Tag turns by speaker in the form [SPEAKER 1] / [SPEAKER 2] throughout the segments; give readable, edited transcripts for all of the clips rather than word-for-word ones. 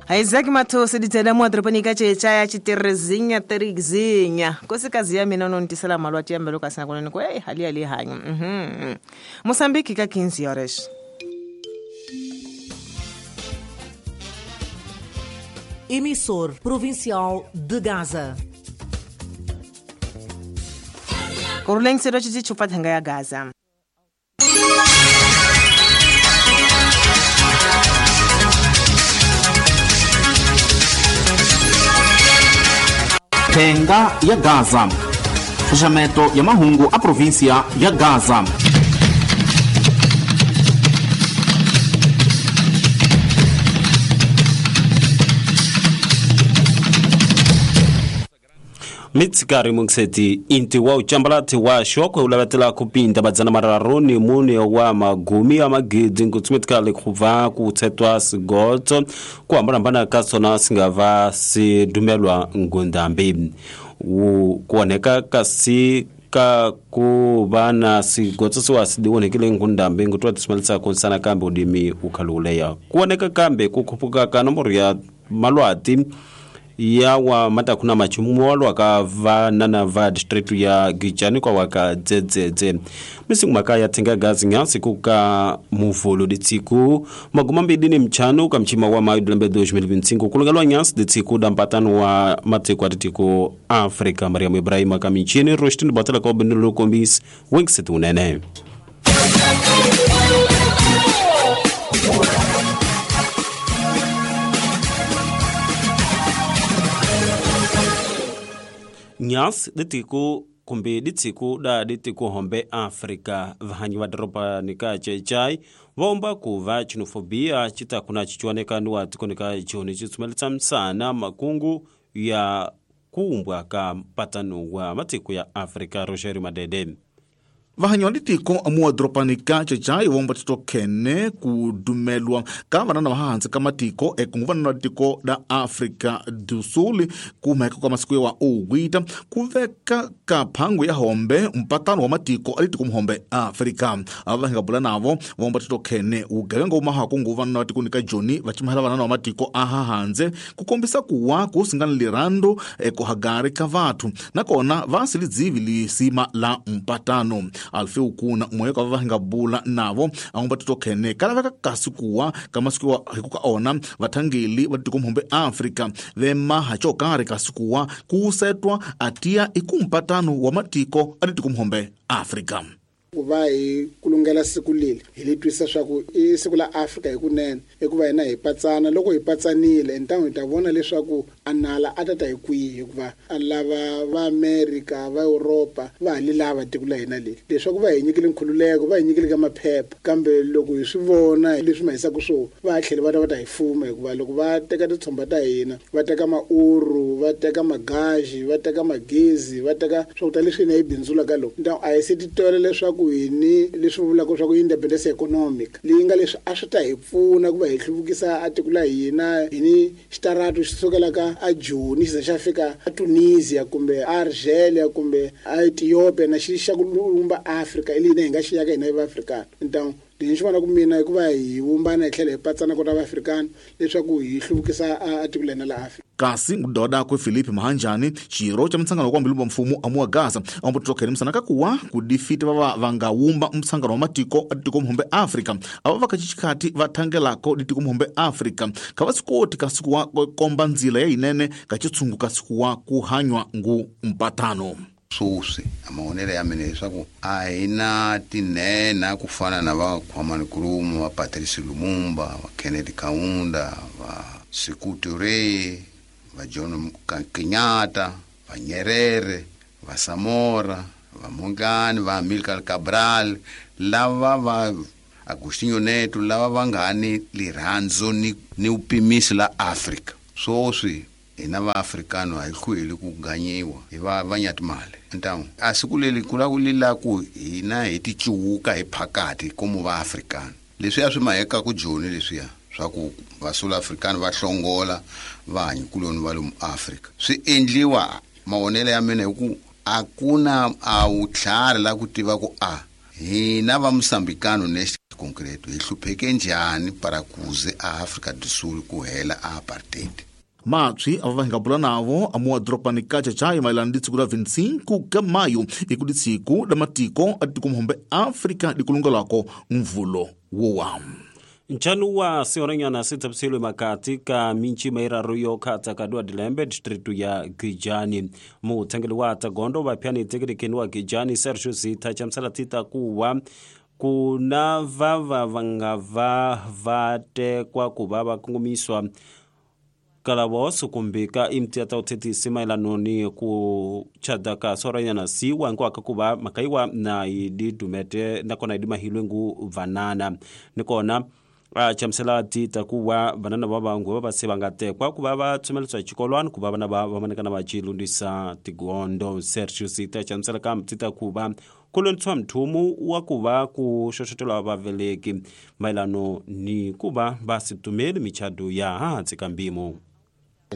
[SPEAKER 1] Isaac Mathosi ditsela mo toropong ka tšetša ya tšiterezinya terigzinya kosikazi ya mina no ntisela malwati ya mbelo ka sena konene ko ei hali ali hanyu Moçambique ka 15 horas.
[SPEAKER 2] Emissor Provincial de Gaza.
[SPEAKER 1] Kuruleng sero tshitshi tshupa thenga ya Gaza.
[SPEAKER 3] Thenga ya Gaza. Xaxameto ya mahungu a província ya Gaza.
[SPEAKER 4] Mitsikari mungiseti inti wa uchambalati wa shokwe ulavatela kupinda madzana mararu ni mune wa magumi ya magidi nkutsumetikali khuva kutsetwa sigotso kuhambanahambana ka swona singava sidumelwa ngundambi kuoneka kasi ka ku va na sigotso siwa sidiwonekile ngundambi ngutwa tisumelisa kunsana kambe udimi ukhaluleya kuoneka kambe kukhupuka ka nomboro ya malwati yawa matakuna machumuwalwa ka vanana va district ya Gijani kwa waka dzedzedze misiku maka ya thenga gazi nyasi kuka muvolo ditsiku maguma mbili ni mchano ka mchima wa mayu dilembe 2025 kulungalwa nyasi ditsiku da mpatano wa matiko atitiko Afrika Mariamu Ibrahima kamichini Roshtini batala kwa benulu kombis wingset unene. Nyas ditiku kumbe ditsiku da ditiku hombe Afrika vahanyi va doroba nika chechai vaomba kuva xenofobia chitakuna chichuaneka ni wa tikonika choni chitsumelisa msana makungu ya kuumbwa ka mpatano wa matiko ya Afrika Roger Madede.
[SPEAKER 5] Vahanyi wa ditiko amuwa doropanika chechai vomba titokhene kudumelwa ka vanana va hansi ka matiko ekungu vanana va tiko la Afrika do Sul kumheka ka masiku ya wa owita ku veka ka phangu ya hombe mpatano wa matiko a litiko muhombe Afrika ava hi nga bula navo vomba titokhene ugevenga wu mahaku ngu vanana va tiko ni ka Joni va chimahela vanana va matiko a ha handze ku kombisa kuwa ku singana lirando ekuhagari ka vathu nakona va silidzivi lisima la mpatano. Alfe ukuna moyo ka va nga bula navo angomba titokhene kalaveka kasi kuwa ka masiku wa hikuka ona vathangeli va tiko muhombe Afrika vemaha xo karhi kasi kuwa ku setwa atia ikumpatano wa matiko a tiko muhombe Afrika.
[SPEAKER 6] Ku va hi kulungela siku leri hi li twisisa swa ku i siku la Afrika hikunene hikuva hina hi patsana loko hi patsanile ntangu hi ta vona leswaku a nala a ta ta hi kwihi hikuva a lava va Amerika va Europa va ha li lava tiko la hina leri leswaku va hi nyikile nkhululeko va hi nyikile ka maphepha kambe loko hi swi vona leswi ma hisaka swona va ha tlhela va ta va ta hi fuma hikuva loko va teka titshomba ta hina va teka mauru va teka magaji va teka magezi va teka swakudya leswi hina hi bindzulaka loko ntangu a hi se titwela leswaku hini leswi vulaka swa ku independence economic leyi nga leswi a swi ta hi pfuna ku va hi hluvukisa a tiko la hina hini xitaratu xi sukelaka a Joni xi za xa fika a Tunisia kumbe a Algeria kumbe a Ethiopia na xi xa ku lumba Afrika i leyi hi nga xi yaka hina va Afrika ntangu lexi xi vona ku mina hikuva hi vumbana hi tlhela hi patsana kota va Afrikana leswaku hi hluvukisa a tiko la hina la Afrika.
[SPEAKER 5] Kasi ngudoda kwe Filipe Mahanjani xirho xa mutshangano wa kwambilu mfumo amuwa Gaza ambo titokhene musana kakuwa kudifita vava vangawumba mutshangano wa matiko a tiko muhombe Afrika ava vakachichikati vathangelako ditiko muhombe Afrika kha va sikoti kasi kuwa komba ndzila ya yinene ka chitsungu kasi kuwa ku hanywa ngu mpatano.
[SPEAKER 7] Swoswi amahonelo ya mina leswaku a hi na tinhenha ku fana na va Kwame Nkrumah, va Patrice Lumumba, va Kennedy Kaunda, va Sekou Touré, va John Kenyatta, va Nyerere, va Samora, va Mongani, va Amilcar Cabral, lava va Agostinho Neto, lava va nga ni lirhandzo ni upimisi la Afrika. Swoswi hina va Afrikano a hi hlweli ku ganyiwa hi va vanyatimali ntangu a siku leri ku la ku lila ku hina hi ti cuwuka hi phakati komu va Afrikano leswiya swi maheka ku Joni leswiya swa ku va South African va hlongola vahanyikuloni va lomu Afrika swi endliwa mavonelo ya mina hi ku a ku na a wutlhari la ku tiva ku a hina va Mosambikano next concreto hi hlupheke njhani para kuze a Afrika do Sul ku hela a apartheid.
[SPEAKER 5] Matshwi ava va hi nga bula navo amuwa doropani ka Chachai mayelana ni siku la 25 ka mayo iku lisiku la matiko a tiko muhombe Afrika likulungelako mvulo wowa.
[SPEAKER 4] Nchanu wa seoranyana sitsapiselwe makati ka minchi mairaru yo khatsa ka dua dilembe distritu ya Gijani. Muthangeli wa tagondo vaphyani tekelekeni wa Gijani Sergio Zitha chamsala tita kuwa kuna vava vanga va vatekwa kuva vakongomiswa kalavoso kumbe ka imti ya uthethisi mayelano ni ku chada ka soranyana siwa nkwaka kuva makaiwa na idi dumete nakona idi mahilwe ngu vanana nikona chamsela tita kuwa vanana va vangu va vase va nga tekwa ku va va tsumeletswa xikolwani ku va vana va vamanekana va chilundisa tigondo. Sergio Zitha chamsela ka tita ku va ku lwentshwa mthumu wa ku va ku xoxotelwa vaveleki mayelano ni ku va va situmeli michado ya hansi ka mpimo.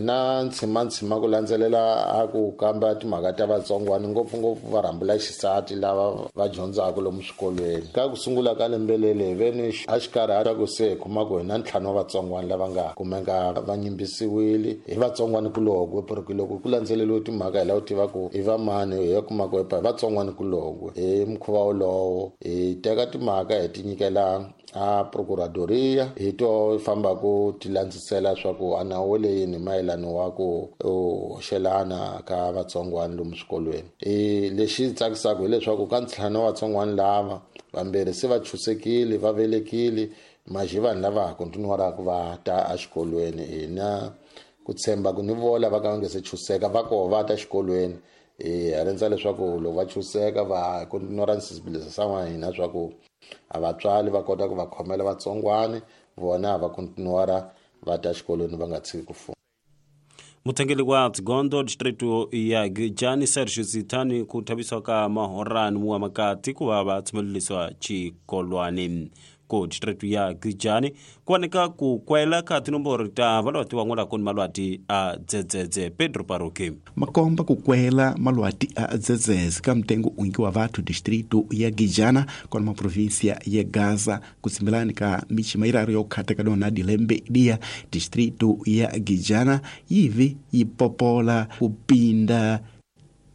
[SPEAKER 8] Na ntshima ku landzelela a ku kamba timhaka ta vatsongwana ngopfungopfu va rhambula xisati lava va dyondzaka lomu swikolweni. Ka ku sungula ka lembe leri hi ve ni a xikarhi a ku se hi kuma ku hi na ntlhanu wa vatsongwana lava nga kumeka va nyimbisiwile hi vatsongwanikulokwe, porque loko ku landzeleriwe timhaka hi lava ku tiva ku i va mani hi ya kuma ku hi vatsongwanikulokwe. Hi mukhuva wolowo hi teka timhaka hi ti nyikela a procuradoria hi to famba ku ti landzisela swa ku a nawu le yini mayelano wa ku hoxelana ka vatsongwana lomu swikolweni. Lexi tsakisaka hileswaku ka ntlhanu wa vatsongwana lava vambirhi se va chusekile va velekile maxi vanhu lava ha kontinuaraka va ta exikolweni. Hina ku tshemba ku ni vola va ka va nge se chuseka va koho va ta exikolweni. Hi rhandza leswaku loko va chuseka va kontinuara nsensibilizasa wa hina swa ku a vatswari va kota ku va khomela vatsongwani vona va kontinuara va ta xikolweni va nga tshiki ku funda.
[SPEAKER 4] Muthangeli wa Tsigondo distritu ya Gijani Sergio Zithani ku thavisiwa ka mahorani wa makati ku va va tshumelelisiwa xikolwani. Ku distritu ya Gijani ku voneka ku kwela ka tinomboro ta valwati van'wana ni malwati a dzedzedze. Pedro Paroki
[SPEAKER 9] makomba ku kwela malwati a dzedzedze ka mtengo ungi wa vathu distritu ya Gijana kona maprovinsia ya Gaza kutsimbilani ka michima iraru yo khata ka dona dilembe dia distritu ya Gijana yivi yipopola kupinda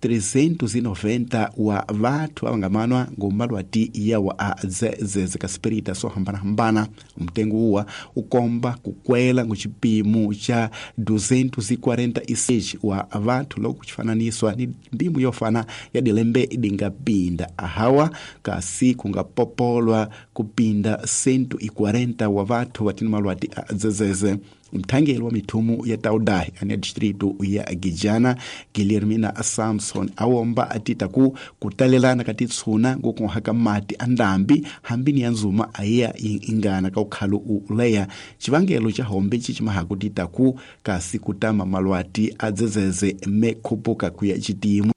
[SPEAKER 9] 390 wa vathu avangamanwa ngomalwati yawa a dzedzedze ka spirita swo hambanahambana. Mtengo uwa ukomba kukwela nguchipimo cha 246 wa vathu loko kuchifananiswa ni mbimu yofana ya dilembe idingapinda ahawa kasi kungapopolwa kupinda 140 wa vathu vatini malwati a dzedzedze. Mthangeli wa mithumu ya Taudahi ane distritu ya Gijana Guilhermina Samson awomba atita ku kutalelana ka titshuna ngokuhaka mati andambi hambini ya nzuma ayiya ingana ka ukhalo uleya chivangelo cha hombe chichimahaku tita ku kasi kutama malwati adzedzeze mekhupuka kuya chitimu.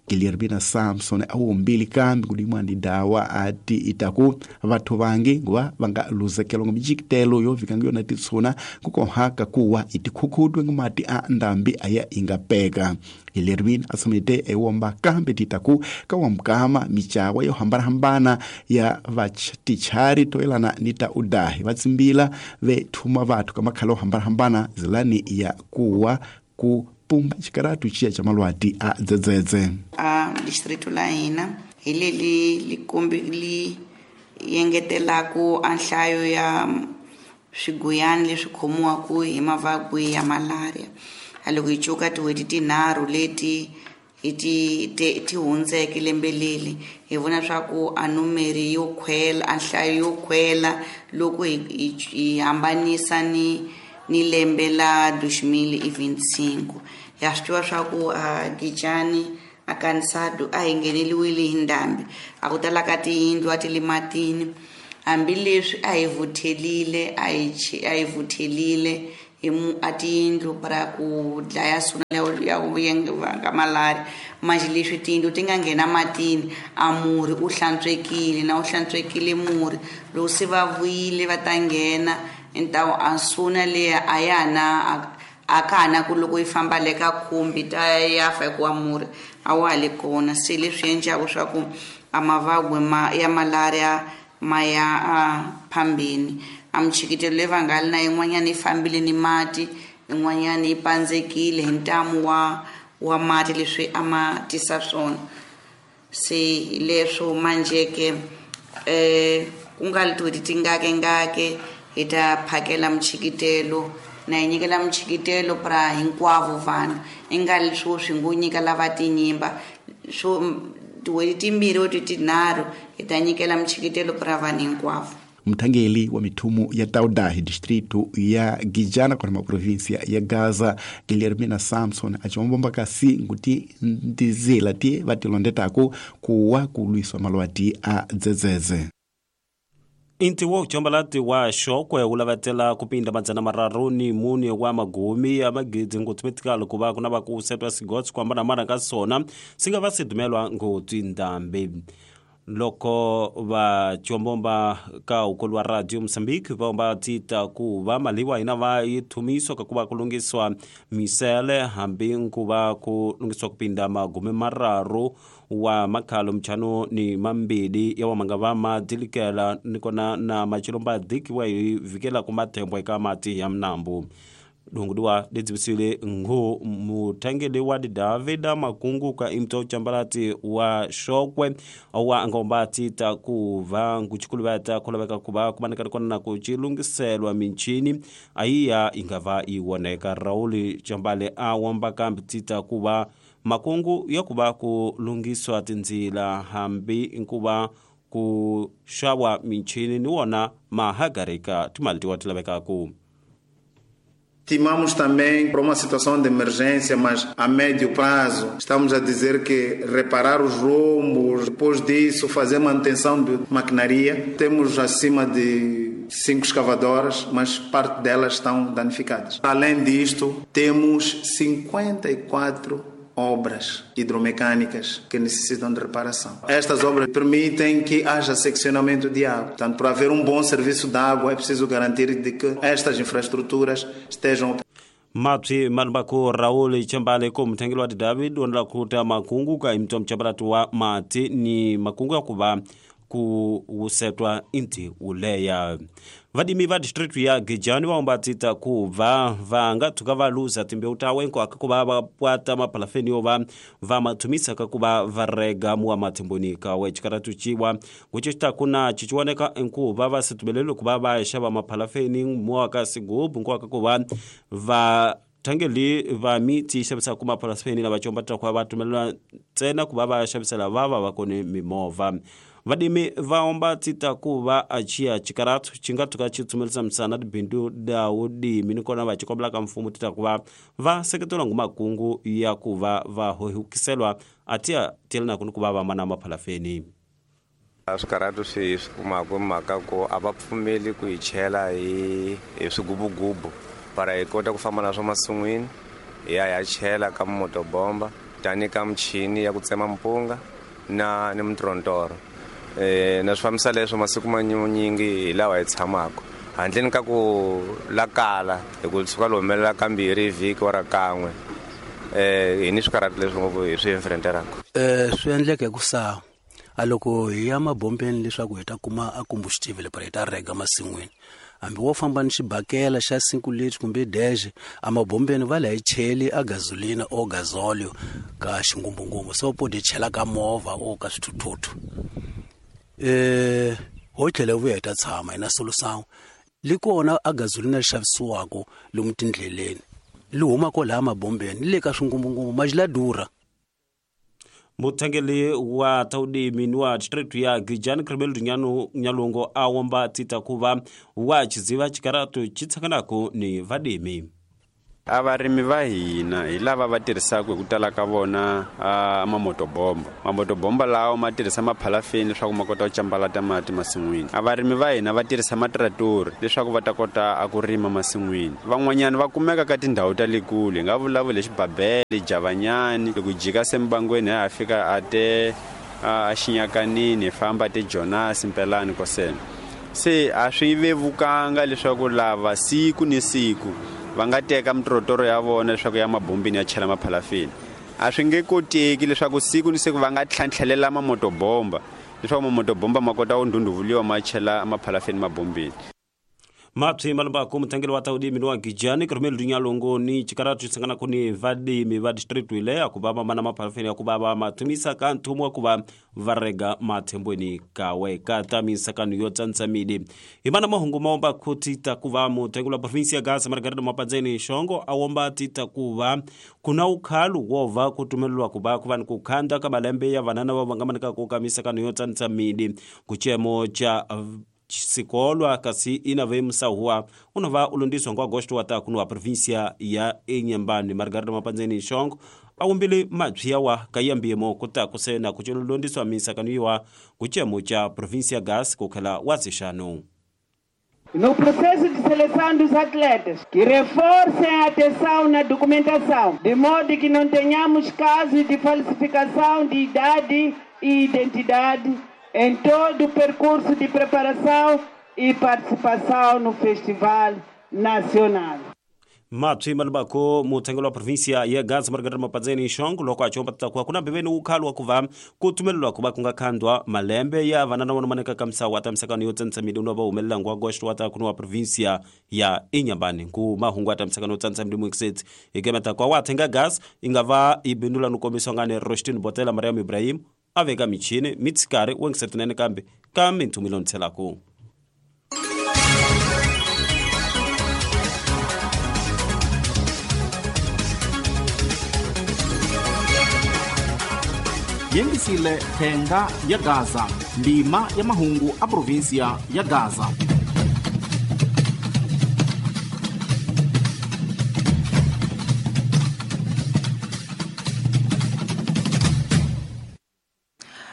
[SPEAKER 9] Guilhermina Samson awombili kambi kudimwa ndi dawa ati itaku vathu vangi nguva vanga luzekelwa nga mijikitelo yovika ngiyona titshuna kukohaka kuwa itikhukhutwe ngumati a ndambi aya ingapeka. Guilhermina asomete ewomba kambi titaku kawamkama michawa yo hambanahambana ya vatichari toelana nita udahi vatsimbila vethuma vathu kamakhala ohambanahambana zilani ya kuwa ku pumba xikaratu xiya xa malwati a dzedzedze.
[SPEAKER 10] A distrito la hina hi leli likombi li yengetelaku a nhlayo ya swiguyani leswi khomiwaka hi mavabyi ya malaria. A loko hi cuka tin'hweti tinharhu leti hi ti hundzeke lembe leli hi vona swa ku a numeri yo khwela a nhlayo yo khwela loko hi hambanisa ni lembe la 2025. Ya swi tiva swa ku a Gijani a Kansado a hi ngheneliwile hi ndhambi a ku tala ka tiyindlu a ti le matini hambileswi a hi vuthelile a hi vuthelile hi a tiyindlu para ku dlaya suna ya vanga malaria manje leswi tiyindlu ti nga nghena matini a murhi u hlantswekile na u hlantswekile murhi loko se va vuyile va ta nghena ntawo a suna leya a ya na a ka ha na ku loko yi famba le ka khumbi ta ya fa hikuva murhi a wa ha le kona. Se leswi endlaka swa ku a mavabyi ya malaria ma ya a phambeni. A michikitelo leyi va nga li na yin'wanyana yi fambile ni mati, yin'wanyana yi pandzekile hi ntamu wa mati leswi a ma tisa swona. Se hi leswo manjhe-ke ku nga li tin'hweti tingakengake hi ta phakela michikitelo na hi nyikela michikitelo pra hinkwavo vanhu, i nga li swo swi ngo nyika lava tinyimba swo tin'hweti timbirhi or tinharhu hi ta nyikela michikitelo pra vanhu hinkwavo.
[SPEAKER 9] Mthangeli wa mithumu ya Tauda hi distrito ya Gijana kona maprovinsia ya Gaza, Guilhermina Samson, aciwombomba kasi nkuti ndizila ti va tilondetaku kuwa ku lwiswa malwati a dzedzedze.
[SPEAKER 4] Inti wa uchambalati wa xokwe wu lavetela ku pinda 304 wa magumi ya magidi ngutsumetikalo ku va ku na va ku setwa sigotsi ku hambanahambana ka swona swi nga va swi dumelwa ngopfu ndhambi. Loko va chombomba ka ukolo wa Radio Mozambique va va tita ku va mali wa hina va yi thumiswa ka ku va ku lungiswa misele hambi ku va ku lungiswa ku pinda 30 wa makhalo mchano ni mambili ya wa manga va ma dilikela ni kona na machilomba dikiwa hi vikela ku mathembo eka mati ya mnambu. Dungudiwa ledzibisile ngo muthangeli wa David Makungu ka imto chambalati wa xokwe wa ngomba tita ku va nkuchikuluveta kulaveka ku va kumaneka kona na ku chilungiselwa minchini ayiya ingava iwoneka. Raul Chambale a wamba kambi tita ku va makungu ya ku va ku lungiswa tindzila hambi nkuva ku xawa minchini ni wona mahagarika timali tiwa ti lavekaku.
[SPEAKER 11] Estimamos também para uma situação de emergência, mas a médio prazo. Estamos a dizer que reparar os rombos, depois disso fazer manutenção de maquinaria. Temos acima de 5 escavadoras, mas parte delas estão danificadas. Além disto, temos 54 obras hidromecânicas que necessitam de reparação. Estas obras permitem que haja seccionamento de água. Portanto, para haver um bom serviço de água, é preciso garantir de que estas infraestruturas estejam.
[SPEAKER 4] Mapsi malubako Raul Chambale ko mthangeli wa David wonela kuta makungu ka imto mchabalati wa mati ni makungu ya kuva ku wusetwa inti uleya. Vadimi va district ya Gijani va ombatita ku va va nga tshuka va luza timbewu ta wenko aka ku va va pwata mapalafeni yo va va mathumisa ka ku va va rega muwa mathimboni ka we chikaratu chiwa ngucho chitakuna chichiwoneka enku va va situmelelo ku va va xava mapalafeni muwa ka sigubu nko aka ku va va thangeli va miti xavisa ku mapalafeni lava chombatita ku va va tumelela ntsena ku va va xavisela va va va kone mimovha. Vadimi va omba tita ku va achia chikaratu chinga tuka chitsumelisa misana tibindu da udimi ni kona va chikombela ka mfumo tita ku va va seketela ngu makungu ya ku va va hohikiselwa atia telena ku ku va va mana maphalafeni.
[SPEAKER 12] Swikaratu swi kumaka mhaka ku a va pfumeli ku hi chela hi swigubugubu para hi kota ku famba na swo masin'wini hi ya hi ya chela ka motobomba tani ka michini ya ku tsema mpunga na ni mtrontoro. Na swi fambisa leswo masiku manyingi hi lawa hi tshamaka handleni ka ku lakala hi ku suka lo humelela kambirhi vhiki wa ra kan'we hi ni swikarhati leswi ngopfu hi swi enfrenteraka.
[SPEAKER 13] Swi endleke ku sa a loko hi ya mabombeni leswaku hi ta kuma a combustible para hi ta rega masin'wini, hambi wo famba ni xibakela xa 5 litri kumbe dexe a mabombeni va la hi cheli a gasolina o gasolio ka xingumbungumbu so po di chela ka movha o ka swithuthuthu. Ho tlhela vuya hi ta tshama hina solosangu li kona a gasolina xavisiwako lomu tindleleni li huma ko laha mabombeni le ka swingumbungumbu maji la durha.
[SPEAKER 4] Muthangeli wa taudimi wa district ya Gijani Kribel Nyalongo a womba tita ku va wa chiziva chikaratu chitsakanako ni vadimi.
[SPEAKER 12] A varimi va hina hi lava va tirhisaka hi ku tala ka vona mamotobomba. Mamotobomba lawa ma tirhisa maphalafeni leswaku ma kota ku cambalata mati masin'wini. A varimi va hina va tirhisa matratori leswaku va ta kota a ku rima masin'wini. Van'wanyana va kumeka ka tindhawu ta le kule, hi nga vulavula hi Xibabele, Javanyani, loko jika sembangweni ha fika a te a Xinyakanini, hi famba te Jonas Mpelani kosena. Se a swi vevukanga leswaku lava siku ni siku va nga teka mitrotoro ya vona leswaku ya mabombini ya chela maphalafeni. A swi nge koteki leswaku siku ni siku va nga tlhantlhelela mamotobomba Leswaku mamotobomba ma kota ku ndhundhuvuliwa ma chela maphalafeni mabombeni.
[SPEAKER 4] Mapsi malumbaku mutangeli wa taudimi wa gijani kurumeli dunyalongo ni chikaratu chisangana kuni vadimi va district ile ya kuva mamana maphalafeni ya kuva va mathumisa ka nthumu wa kuva varega mathembweni kawe ka tamisa kanu yo tsantsamidi himana mahungu maomba khuti takuva mutangeli wa provinsi ya Gaza Margarida Mapanzeni Shongo awomba tita kuva kuna ukhalu wova kutumelelwa kuva kuva ni kukhanda ka malembe ya vanana va vangamanika ku kamisa kanu yo tsantsamidi kuchemo cha sikolwa kasi inave msahuwa unova ulundiswa ngo agosto wa takuno wa provincia ya Inhambane. Margarida Mapanzeni Shongo awumbile mabyi wa kayambiyemo kuta kusena kuchololondiswa misakaniwa kuchemo cha provincia gas kukhela wazixano.
[SPEAKER 14] No processo de seleção dos atletas, que reforcem a atenção na documentação, de modo que não tenhamos casos de falsificação de idade e identidade em todo o percurso de preparação e participação no Festival Nacional.
[SPEAKER 4] Mapsi malubako mutengelo wa provincia ya Gaza Margarida Mapanzeni Shongo loko achomba takuwa kuna bebeni ukhalu wa kuva kutumelelwa kuva kungakhandwa malembe ya vanana wanomaneka kamsa wa tamsakano yo tsantsamidi unova humelela ngwa agosto wa takuno wa provincia ya Inhambane ku mahungu atamsakano yo tsantsamidi muxet ikemeta kwa wathenga gas ingava ibindula nukomiswa ngane Rostin Botela Mariam Ibrahim aveka michini mitsikari wengisetinene kambe ka minthumilo ntshelaku.
[SPEAKER 3] Yengisile thenga ya Gaza, ndima ya mahungu a provinsia ya Gaza.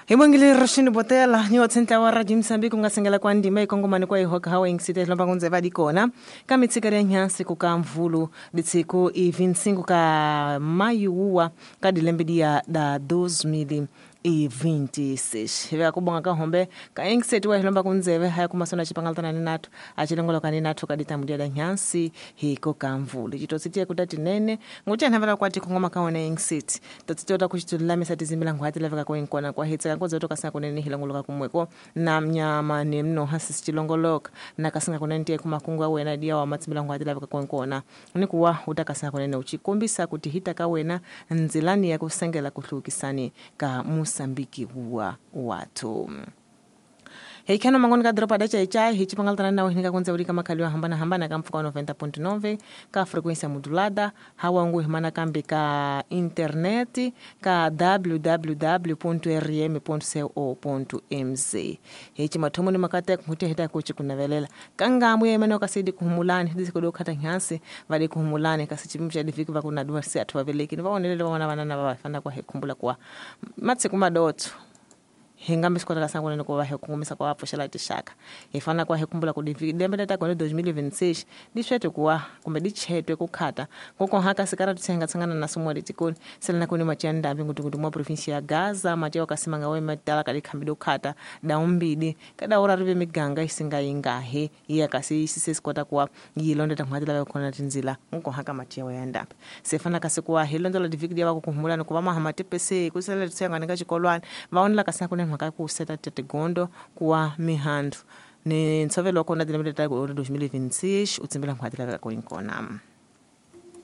[SPEAKER 1] Hibongile Roshini Botela ni watsentla wa Radio Mozambique ungasengela kwa ndima ikongomani kwa ihoka hawa ingisite lomba kunze vadi kona kamitsika ya nyansi kuka mvulu ditsiko i25 ka mayu ka dilembe ya da 2026 hivya kubonga ka hombe ka ingisete wa hilomba kunzeve haya kumasona chipangaltana ni natu achilongolo kani natu kadita mudia da nyansi hiko ka mvulu chitositie kutati nene nguti anhavela kwati kongoma kaona ingisete totsitota kuchitulamisa tizimbila ngwati laveka koinkona kwa hitsa kankozo toka kunene hilongoloka kumweko na mnyama ni mno hasi chilongoloka na kasinga kunene tie kumakungu wena dia wa matsimbila ngwati laveka koinkona ni kuwa utakasanga kunene uchikombisa kuti hita kawena nzilani ya kusengela kuhlukisani ka Mosambiki wa watu. Heikano mangoni ka dropa da chai chai hichipangaltana na winika kunze urika makaliwa hambana hambana ka mfuka wa 90.9 ka frequência modulada hawa ngu himana kambi ka internet ka www.rm.co.mz hichi mathomo ni makate kuhutia hita kuchi kunavelela kangamwe yemene kasidi kuhumulani hidi sikodo kata nyansi vali kuhumulani kasi chipimcha difiki vakuna dua si atu waveleki nivaonelele wana wanana wafana kwa hekumbula kwa matsi kumadoto hingambi sikwata kasangu nene kwa hekungumisa kwa wapo tishaka ifana kwa hekumbula kudivide tata kone 2026 dishwete kuwa kumbe dichetwe kukhata ngoko haka sikara tutsenga tsangana na sumo litikoni selena kuni machanda mbingu mwa provinsia ya Gaza mateo kasimanga we matala kali khambido khata daumbidi kada ora ribe miganga isinga ingahe iya kasi sise sikwata kuwa yilonda tamhatila bakona tinzila ngoko haka mateo yanda sefana kasikuwa hilondola divikidi wako kuhumula nokuva mahamate pese kusela tutsenga nika chikolwana vaonela kasangu nene mhaka ku seta tetegondo kuwa mihandu ni ntshovelo wa kona dilembe leta 2026 utsimbela nkhwati laveka ku inkona.